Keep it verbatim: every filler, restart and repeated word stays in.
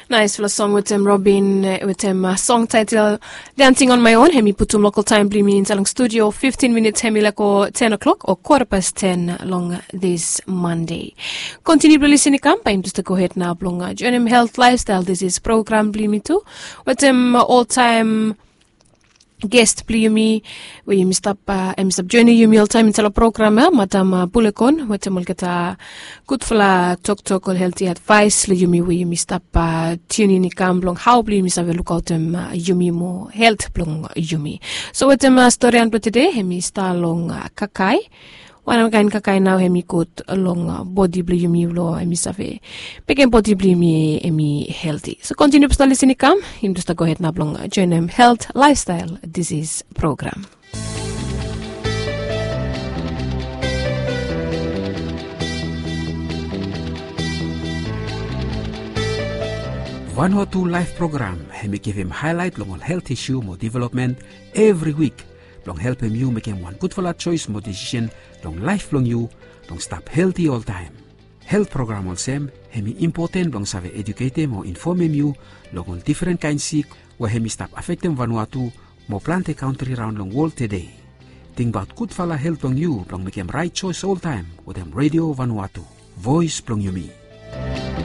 Naisfala song wetem Robin, wetem song taitel Dancing on My Own. Hem i putum lokal taem blong yumi insaed long studio. Fiftin minits hem i laek go ten o'clock o kwata pas ten long this Monday. Kontiniu blong lisin i kam, bae yumi jes gohed nao blong joenem Health Lifestyle Disease program blong yumi tu wetem oltaem ges blong yumi we yumi stap, hem i stap joenem yumi oltaem insaed long program ya, Madam Bulekon, wetem olgeta gudfala toktok o helti advaes long yumi we yumi stap tiunin i kam blong hao blong yumi save lukaotem yumi moa helt blong yumi. So wetem storian blong tede hem i stap long kakae. Wanem kaen kakae nao hem i gud long bodi blong yumi blong hem i save mekem bodi blong yumi hem i helti. So kontiniu blong stap lisin i kam, yumi tu stap gohed nao blong joenem Health Lifestyle Disease program. Vanuatu Laef program hem i givim haelaet long ol helt isu mo developmen evri wik blong helpem yu mekem wan gudfala joes mo desisen long laef blong yu blong stap helti oltaem. Helt program olsem hem i impoten blong save ejuketem o infomem yu long ol difren kaen sik we hem i stap afektem Vanuatu mo plante kantri raon long wol tede. Tingbaot gudfala helt blong yu blong mekem raet joes oltaem wetem Redio Vanuatu, voes blong yumi.